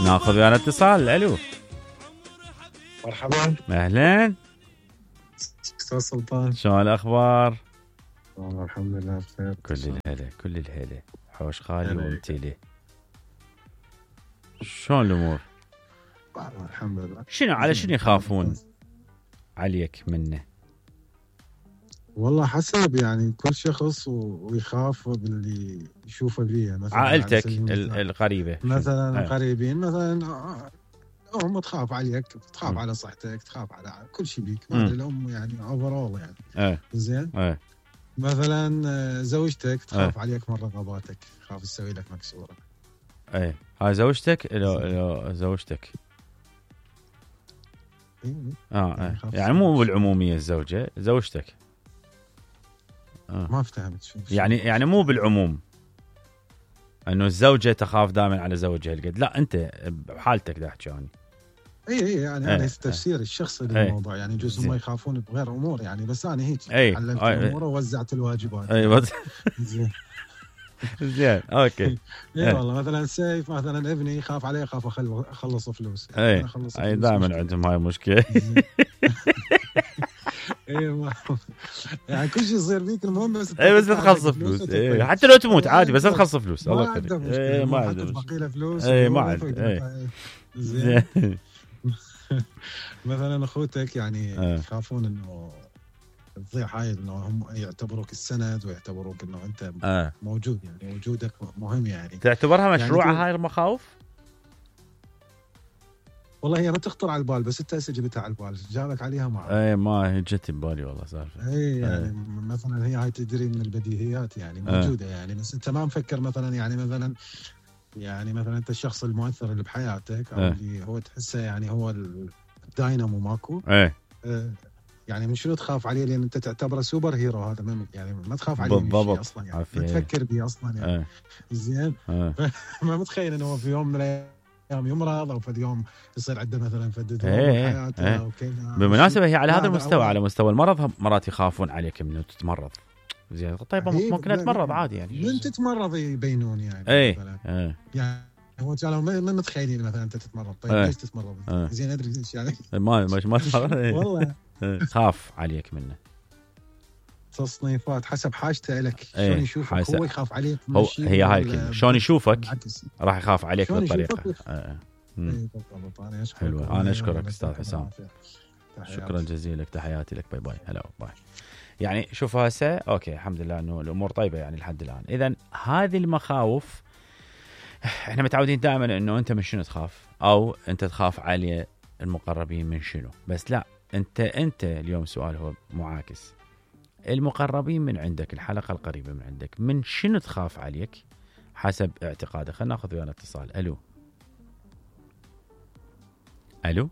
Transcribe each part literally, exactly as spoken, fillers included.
ناخذ ويانا اتصال. الو مرحبا. اهلا استاذ سلطان، شلون الاخبار؟ والله الحمد لله بخير. كل الهلا كل الهلا. حوش خالي وامتلي. شلون الامور؟ والله الحمد لله. شنو على شنو يخافون عليك منه؟ والله حسب يعني كل شخص ويخاف باللي يشوفه بيه. مثلا عائلتك القريبه مثلا القريبين مثلا ام تخاف عليك، تخاف م. على صحتك، تخاف على كل شيء بيك. ما ادري الام يعني اوفرول يعني اه. زين اه. مثلا زوجتك تخاف اه. عليك من رغباتك، تخاف تسوي لك مكسوره. اي هاي زوجتك؟ لو لو زوجتك إيه. اه يعني, يعني مو بالعموميه الزوجه، زوجتك. آه. ما فهمت شو يعني يعني مو بالعموم انه الزوجه تخاف دائما على زوجها القد، لا انت بحالتك دا احكي انا. اي اي يعني انا التفسير الشخصي للموضوع يعني جزء ما يخافون بغير امور يعني، بس انا هيك علمت الامور ووزعت الواجبات. اي يعني. زين زين اوكي. اي والله مثلا سيف مثلا ابني يخاف عليه، اخاف اخلص فلوس. اي اي دائما عندهم هاي المشكله. اي يعني كل شيء يصير فيك المهم بس اي بس لا تخلص فلوس. اي حتى لو تموت عادي بس لا تخلص فلوس. الله يخليك. اي ما عنده بقيله فلوس. اي ما عنده. زين مثلا اخوتك يعني يخافون انه تضيع هاي، انه هم يعتبروك السند ويعتبروك انه انت آه. موجود، يعني وجودك مهم. يعني تعتبرها مشروعه يعني هاي المخاوف؟ والله هي ما تخطر على البال، بس انت هسه جبتها على البال، جابك عليها ما اي ما جت ببالي والله سالفه. اي يعني أي. مثلا هي هاي تدري من البديهيات يعني موجوده. أي. يعني بس انت ما مفكر مثلا يعني مثلا يعني مثلا انت الشخص المؤثر اللي بحياتك او أي. اللي هو تحسه يعني هو الداينامو ماكو. اي أه يعني من شنو تخاف عليه؟ لان انت تعتبره سوبر هيرو. هذا ما يعني ما تخاف عليه من شيء اصلا يعني ما تفكر به اصلا يعني. زين ما متخيل انه هو في يوم من الايام يمرض او في اليوم يصير عنده مثلا فد ايه حياته ايه. او كذا. بالمناسبه هي على هذا المستوى، على مستوى المرض مرات يخافون عليك من تتمرض. زين طيب ممكن اتمرض عادي يعني. من تتمرض يبينون يعني. ايه ايه. يعني هو كانوا ما متخيلين مثلا انت تتمرض. طيب ايه. ليش تتمرض؟ ايه. زين ادري ليش يعني. ما ما ما والله خاف عليك منه. تصنيفات حسب حاجته لك. شلون يشوفك حاسة. هو يخاف عليك هو هي هاي الكلمه، شلون يشوفك راح يخاف عليك بالطريقه. آه. انا حلوه. انا اشكرك استاذ حسام، شكرا جزيلا لك، تحياتي لك. باي باي. هلا باي. يعني شوف هسه اوكي الحمد لله انه الامور طيبه يعني لحد الان. اذا هذه المخاوف احنا متعودين دائما انه انت من شنو تخاف، او انت تخاف على المقربين من شنو. بس لا، انت انت اليوم السؤال هو معاكس. المقربين من عندك، الحلقه القريبه من عندك، من شنو تخاف عليك حسب اعتقادك. خلينا ناخذ ويانا اتصال. الو الو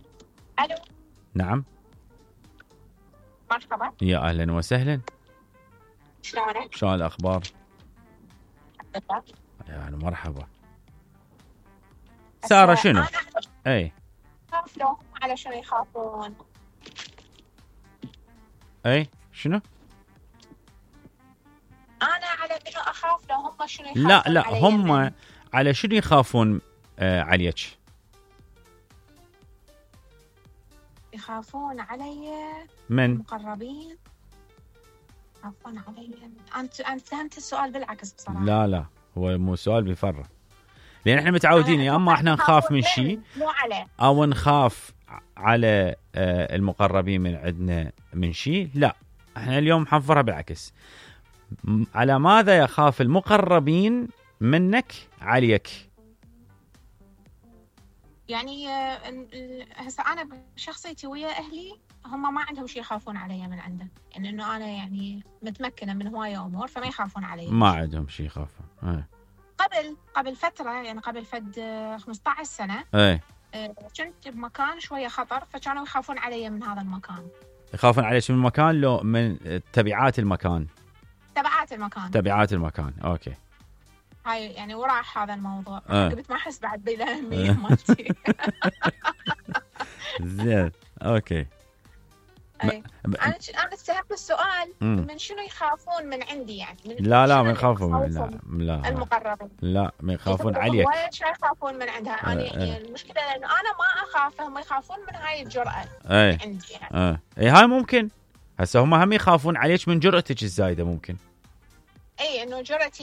الو نعم مرحبا. يا اهلا وسهلا. شلونك؟ شلون الاخبار؟ الحمد لله. يا مرحبا. ساره شنو؟ اي خافوا على شنو يخافون؟ اي شنو؟ انا على منو اخاف لو هم شنو يخافون؟ لا لا هم من. على شنو يخافون آه عليك؟ يخافون علي من مقربين. يخافون علي. انت انت فهمت السؤال بالعكس بصراحه. لا لا هو مو سؤال بيفرق، لان احنا متعودين يا اما احنا نخاف من شيء او نخاف على آه المقربين من عندنا من شيء. لا احنا اليوم حنفرها بالعكس. على ماذا يخاف المقربين منك عليك؟ يعني هسه انا بشخصيتي ويا اهلي هم ما عندهم شيء يخافون علي من عنده، يعني انه انا يعني متمكنه من هوايه امور فما يخافون علي. ما عندهم شيء يخافون. ايه. قبل قبل فتره يعني قبل فد خمسة عشر سنه ايه كنت بمكان شويه خطر فكانوا يخافون علي من هذا المكان. يخافون عليك من المكان لو من تبعات المكان؟ تبعات المكان. تبعات المكان اوكي. هاي يعني وراح هذا الموضوع. أه. قلت ما احس بعد بالاهميه مالتي. زين اوكي. أي. م... انا انا استهبت السؤال م. من شنو يخافون من عندي يعني من لا لا ما يخافون لا لا المقربين لا ما يخافون عليك وايد يخافون من عندها انا يعني المشكله انه انا ما اخاف هم يخافون من هاي الجرأه أي. عندي يعني اه اي هاي ممكن هسه هم هم يخافون عليك من جرأتك الزايده ممكن اي انه جرأتي